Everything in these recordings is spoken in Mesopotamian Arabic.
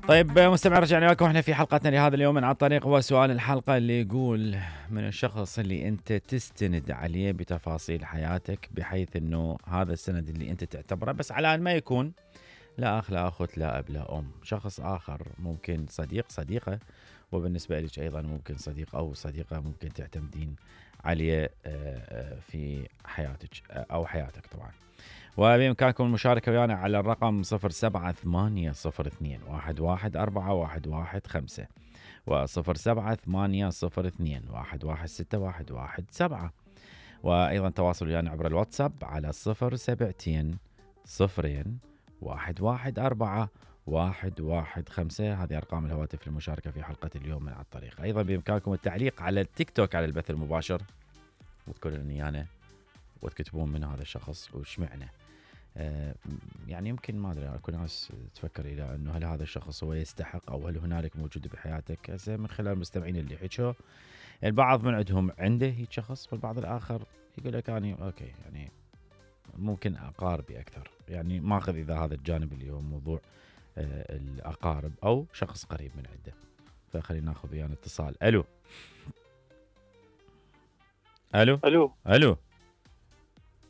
طيب مستمعين، رجعنا لكم احنا في حلقتنا لهذا اليوم من على الطريق. هو سؤال الحلقة اللي يقول: من الشخص اللي انت تستند عليه بتفاصيل حياتك، بحيث انه هذا السند اللي انت تعتبره، بس على ان ما يكون لا اخ لا اخت لا اب لا ام، شخص اخر ممكن صديق صديقة، وبالنسبة لك ايضا ممكن صديق او صديقة ممكن تعتمدين عليه في حياتك او حياتك طبعا. وبإمكانكم المشاركة ويانا على الرقم 0780211415 و078021161117، وأيضا تواصلوا ويانا عبر الواتساب على 072-0114-115. هذه أرقام الهواتف للمشاركة في حلقة اليوم من على الطريق. أيضا بإمكانكم التعليق على التيك توك على البث المباشر، وتقولون ويانا وتكتبون من هذا الشخص وش معنى. يعني يمكن ما ادري، اكو ناس تفكر الى انه هل هذا الشخص هو يستحق، او هل هنالك موجود بحياتك. هسه من خلال المستمعين اللي حكوا، البعض من عندهم عنده هيك شخص، والبعض الاخر يقول لك اني اوكي يعني ممكن اقاربي اكثر، يعني ماخذ اذا هذا الجانب اللي هو موضوع الاقارب او شخص قريب من عنده. فخلينا ناخذ ويانا اتصال. الو الو الو الو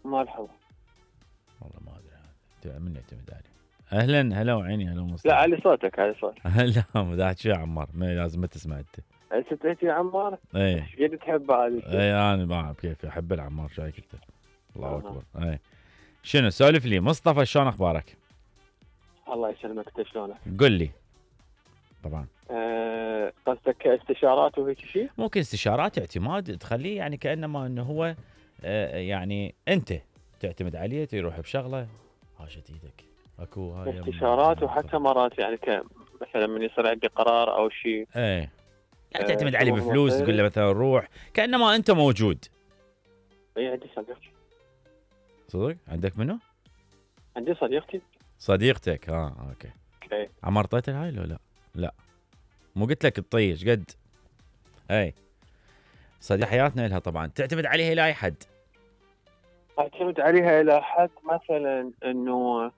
مرحبا. والله ما ادري من يعتمد عليه. اهلا هلا وعيني هلا مصطفى. لا علي صوتك علي صوتك. هلا مداح شو يا عمار، ما لازم ما تسمع انت. ستيت يا عمار. ايه ايش قد تحب هذه؟ ايه انا ما اعرف كيف احب العمار، شو هيك انت. الله اكبر. ايه شنو سولف لي مصطفى، شلون اخبارك؟ الله يسلمك، انت شلونك؟ قل لي. طبعا قصدك استشارات وهيك شيء؟ ممكن استشارات اعتماد، تخليه يعني كانما انه هو يعني انت تعتمد عليه، تروح بشغله هاشت ايدك. اكو هاي استشارات وحتى مرات يعني مثلا من يصير عندي قرار او شيء. ايه يعني تعتمد عليه بفلوس، تقول له مثلا روح كانما انت موجود. اي عندي صديقتي. صدق عندك منو؟ عندي صديقتي. صديقتك اوكي. عمر طيتها هاي لا لا مو قلت لك تطيش قد. اي صديق حياتنا لها طبعا تعتمد عليها الى اي حد؟ اعتمد عليها الى حد مثلا انه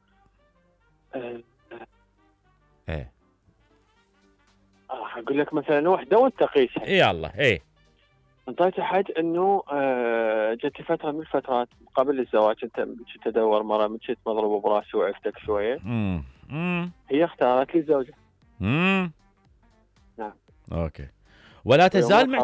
ايه اقول لك مثلا وحده وانت قيسها. اي الله ايه انطيت حد انه جت فتره من الفترات قبل الزواج انت كنت ادور مره من كنت مضروبه براسي وعفتك شويه. هي اختارت لي زوجها. نعم اوكي. ولا تزال